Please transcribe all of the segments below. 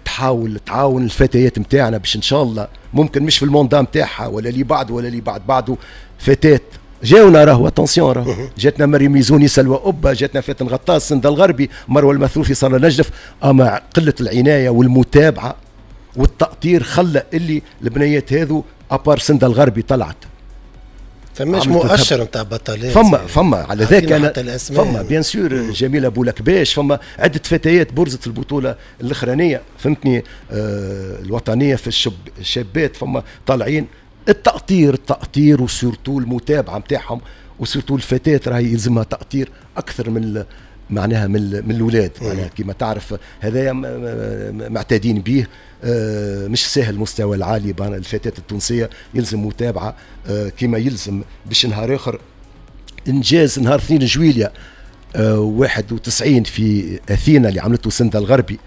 تحاول تعاون الفتيات نتاعنا باش ان شاء الله ممكن مش في ال mandat نتاعها ولا اللي بعده ولا اللي بعد بعده فتاة جاونا. راهو attention، راهو جاتنا مريم ميزوني، سلوى أبا، جاتنا فاتن غطاس، سند الغربي، مروه المثروفي، صار نجف، اما قلة العناية والمتابعة والتأطير خلى اللي البنيات هذو à part سند الغربي طلعت. فماش مؤشر نتاع بطلات. فما على ذاك انا فما bien sûr جميلة بولكباش، فما عده فتيات برزت في البطولة الاخرانيه، فهمتني، الوطنية في الشابات، فما طالعين. التأطير التأطير و surtout المتابعة نتاعهم، و surtout الفتاة راهي يلزمها تأطير أكثر من معناها من الاولاد. معناها كما تعرف هذايا معتادين به، مش سهل المستوى العالي. الفتاة التونسية يلزم متابعة كما يلزم باش نهار آخر إنجاز نهار 2 جويليا 91 في أثينا اللي عملته سندة الغربي،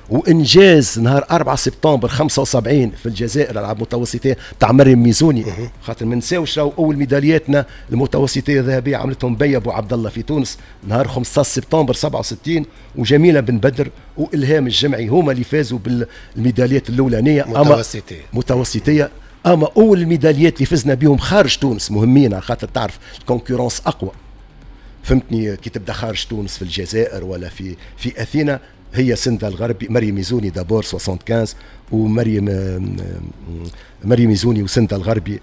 وانجاز نهار 4 سبتمبر 75 في الجزائر الالعاب المتوسطيه تاع مريم ميزوني، خاطر ما نساوش راهو اول ميدالياتنا المتوسطيه الذهبية عملتهم بيا ابو عبد الله في تونس نهار 15 سبتمبر 67، وجميلة بن بدر والهام الجمعي هما اللي فازوا بالميداليات الاولانيه. متوسطيه. متوسطيه، اما اول الميداليات اللي فزنا بهم خارج تونس مهمين، على خاطر تعرف ال concurrence اقوى، فهمتني، كي تبدا خارج تونس في الجزائر ولا في اثينا، هي سندة الغربي، مريم ميزوني d'abord 75، ومريم مريم ميزوني وسندة الغربي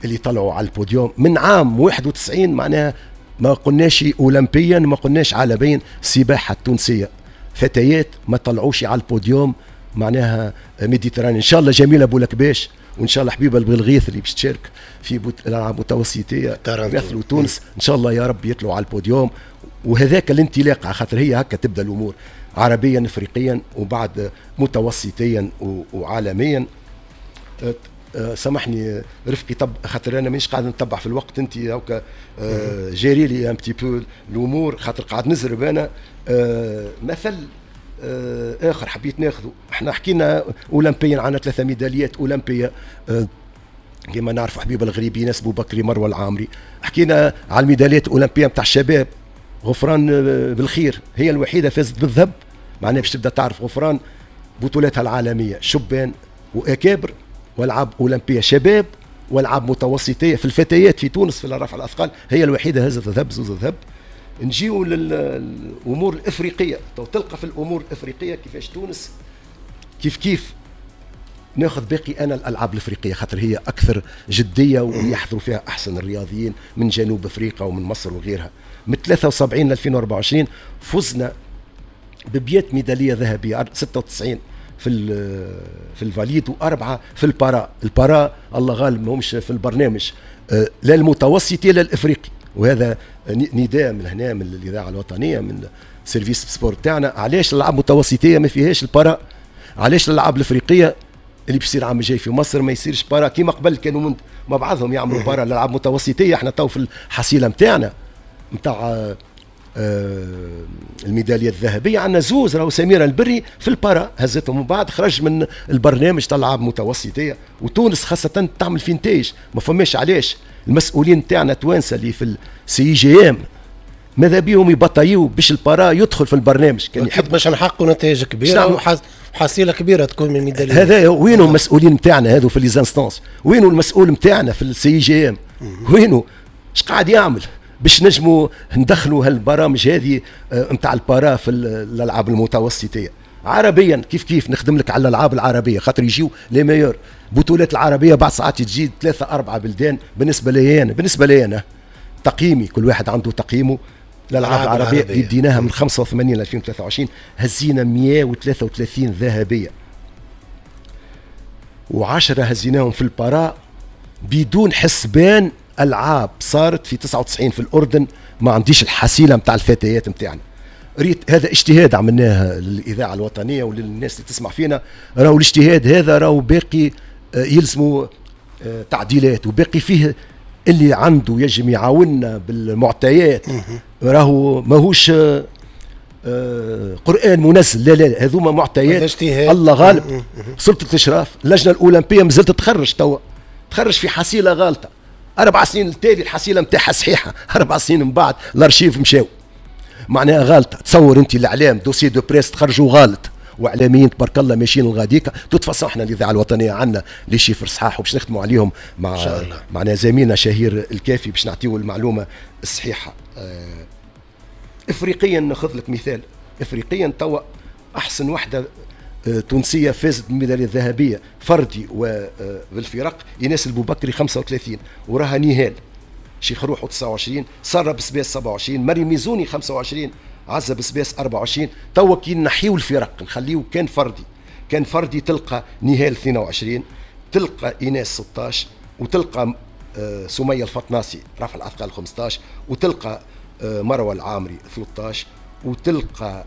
اللي طلعوا على البوديوم من عام 91. معناها ما قلناش اولمبيا، ما قلناش عالميا، السباحة التونسية فتيات ما طلعوش على البوديوم معناها méditerranéen. ان شاء الله جميلة بولكباش وان شاء الله حبيبه البلغيث اللي باش تشارك في الالعاب المتوسطيه يمثلوا تونس، ان شاء الله يا رب يطلعوا على البوديوم، وهذاك الانطلاق، على خاطر هي هكا تبدا الامور عربيا افريقيا وبعد متوسطيا وعالميا. سامحني رفقي، طب خاطر انا مانيش قاعد نتبع في الوقت، انت هكا gérer لي un petit peu الامور خاطر قاعد نزرب انا. مثل اخر حبيت ناخذه، احنا حكينا اولمبيا عندنا ثلاثة ميداليات اولمبيه كما نعرفوا حبيب الغريبي، ناس بكري، مروه العامري. حكينا على الميداليات الاولمبية نتاع الشباب، غفران بالخير هي الوحيدة فازت بالذهب. معناها باش تبدا تعرف غفران بطولاتها العالمية شبان واكابر والعاب اولمبيه شباب والعاب متوسطيه. في الفتيات في تونس في رفع الاثقال هي الوحيدة هزت ذهب، زوز ذهب. نجيو للامور الافريقيه، تو تلقى في الامور الافريقية كيفاش تونس كيف كيف. ناخذ باقي انا الالعاب الافريقية خاطر هي اكثر جدية ويحضروا فيها احسن الرياضيين من جنوب افريقيا ومن مصر وغيرها. من 73 ل 2024 فزنا ب100 ميدالية ذهبيه، 96 في ال valides واربعة في ال para. ال para الله غالب ماهمش في البرنامج لا المتوسطي لا الافريقي، وهذا نداء من هنا من الاذاعة الوطنيه، من service sport تاعنا، علاش الالعاب المتوسطيه ما فيهاش ال para؟ علاش الالعاب الافريقية اللي بيصير العام الجاي في مصر ما يصيرش para كيما قبل كانوا من مع بعضهم يعملوا para الالعاب المتوسطيه؟ احنا تو في الحصيلة نتاعنا نتاع الميداليه الذهبية عندنا زوز، راهو سميرة البري في ال para هزتهم ومن بعد خرج من البرنامج تاع الالعاب المتوسطيه. وتونس خاصة تعمل في نتائج، ما فماش علاش المسؤولين تاعنا توانسة اللي في ال CIGM ماذا بيهم يبطيو باش ال para يدخل في البرنامج. كان يحب باش نحققوا نتائج كبيرة وحصيله كبيرة تكون من الميداليات. هذا وينو المسؤولين نتاعنا هذو في les instances؟ وينو المسؤول نتاعنا في ال CIGM؟ وينو؟ اش قاعد يعمل باش نجموا ندخلوا هالبرامج هذه نتاع ال para في الالعاب المتوسطيه؟ عربيا كيف كيف، نخدم لك على الالعاب العربية خاطر يجيو les meilleurs. بطولات العربية بعد ساعات تجي ثلاثة اربعة بلدان. بالنسبه لي انا تقييمي، كل واحد عنده تقييمه، الالعاب العربية اللي بديناها من 85 ل 2023 هزينا 133 ذهبية و10 هزيناهم في ال para، بدون حسبان العاب صارت في 99 في الاردن، ما عنديش الحصيلة نتاع الفتيات نتاعنا. ريت هذا اجتهاد عملناه للاذاعة الوطنية وللناس اللي تسمع فينا، راهو الاجتهاد هذا راهو باقي يلزموا تعديلات، وباقي فيه اللي عنده يجم يعاوننا بالمعطيات. راهو ماهوش قران منزل، لا لا، هذوما معطيات. الله غالب سلطة الاشراف، اللجنة الاولمبية مازالت تخرج توا، تخرج في حصيله غالطه. 4 سنين التالي الحصيلة نتاعها صحيحه، 4 سنين من بعد الارشيف مشاو معناها غلطه. تصور انت الاعلام dossier de presse تخرجوا غلط. واعلاميين تبارك الله ماشيين لغاديكا. toute façon احنا الاذاعة الوطنية عندنا les chiffres صحاح وباش نخدموا عليهم مع معنا زميلنا شهير الكافي باش نعطيو المعلومة الصحيحة. افريقيا ناخذ لك مثال، افريقيا توا احسن وحده تونسية فازت بالميداليه الذهبية فردي وبالفرق ايناس البوبكري 35، وراها نهال شيخ روحه 29، ساره بسباس 27، مريم ميزوني 25، عزه بسباس 24. توا كي نحيو الفرق نخليو كان فردي، كان فردي تلقى نهال 22، تلقى ايناس 16، وتلقى سميه الفطناسي رفع الاثقال 15، وتلقى مروه العامري 13، وتلقى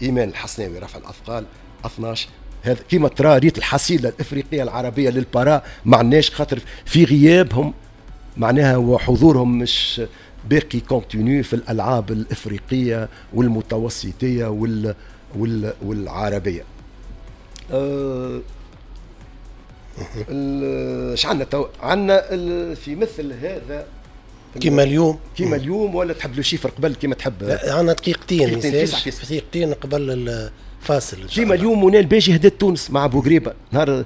ايمان الحسناوي رفع الاثقال 12. هذا كيما ترى ريت الحصيلة الافريقية العربية لل para ما عندناش، خاطر في غيابهم معناها وحضورهم مش باقي continu في الالعاب الافريقية والمتوسطيه والعربية. اش عندنا تو؟ عندنا في مثل هذا كيما اليوم، كيما اليوم ولا تحب le chiffre قبل كيما تحب؟ عندنا دقيقتين، دقيقتين قبل الفاصل. كيما اليوم منى الباجي هدت تونس مع بوغريبه نهار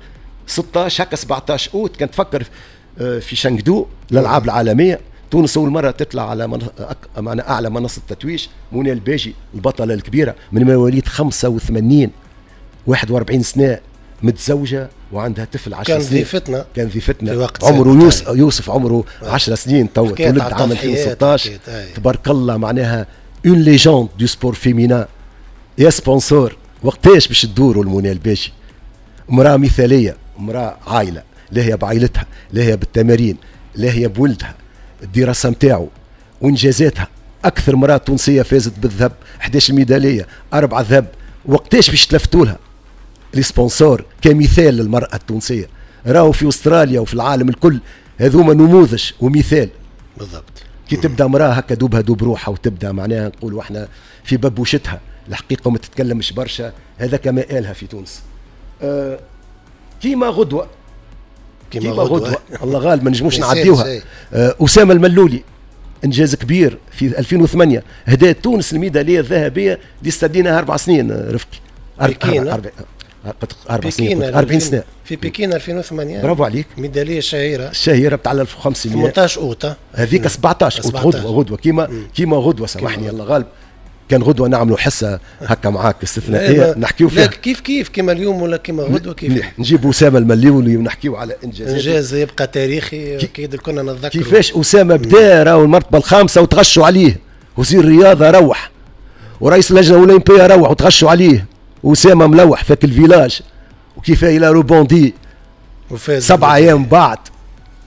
16 هكا 17 اوت، كان تفكر في شانغدو الالعاب العالمية، تونس اول مرة تطلع على معنا اعلى منصة تتويج. منى الباجي البطلة الكبيرة من مواليد 85، 41 سنة، متزوجة وعندها طفل 10 سنين. كان ضيفتنا، كان ضيفتنا في وقت عمره يوسف عمره 10 سنين تو، تولد عام 2016. تبارك الله معناها une légende du sport féminin. يا sponsors وقتاش باش تدوروا المنى الباجي؟ امراة مثاليه، امراة عائلة، لا هي بعائلتها، لا هي بالتمارين، لا هي بولدها، الدراسة نتاعو وانجازاتها. اكثر امراة تونسية فازت بالذهب، 11 ميدالية، 4 ذهب. وقتاش باش تلفتوا لها les sponsors كمثال للمرأة التونسية؟ راهو في أستراليا وفي العالم الكل هذوما نموذج ومثال. بالضبط. كي تبدا امرأة هكا دوبها دوب روحها وتبدا معناها نقولوا احنا في ببوشتها الحقيقة وما تتكلمش برشا، هذا كما قالها في تونس. كيما غدوة، كيما غدوة الله غالب ما نجموش نعديوها. أسامة الملولي انجاز كبير في 2008، هدايا تونس الميدالية الذهبية اللي استديناها 4 سنين رفقي. 4 سنين، 40 سنة في بكين 2008. برافو عليك. ميدالية شهيرة، الشهيرة بتاع 1500 18 اوت هذيك 17 اوت. غدوه غدوه كيما غدوه، سامحني الله غالب، كان غدوه نعملوا حصة هكا معاك استثنائية نحكيو فيها. كيف كيف كيما اليوم ولا كيما غدوه كيف نجيب اسامة المليولي ونحكيو على انجازات، انجاز يبقى تاريخي اكيد كنا نتذكر كيفاش اسامة بدا راهو المرتبة الخامسة وتغشوا عليه، وزير الرياضة روح ورئيس اللجنة الاولمبية روح وتغشوا عليه، اسامة ملوح فاك ال village وكيف il a rebondi 7 ايام بعد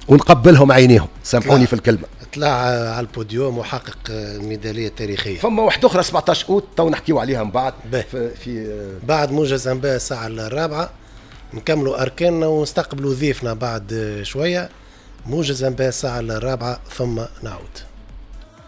ونقبلهم عينيهم، سامحوني في الكلمة. طلع على البوديوم وحقق الميداليه التاريخية. فما واحدة اخرى 17 اوت تو نحكيو عليها من بعد في بعد موجز انباء الساعة 4 نكملوا اركاننا ونستقبلوا ضيفنا بعد شوية. موجز انباء الساعة 4 ثم نعود.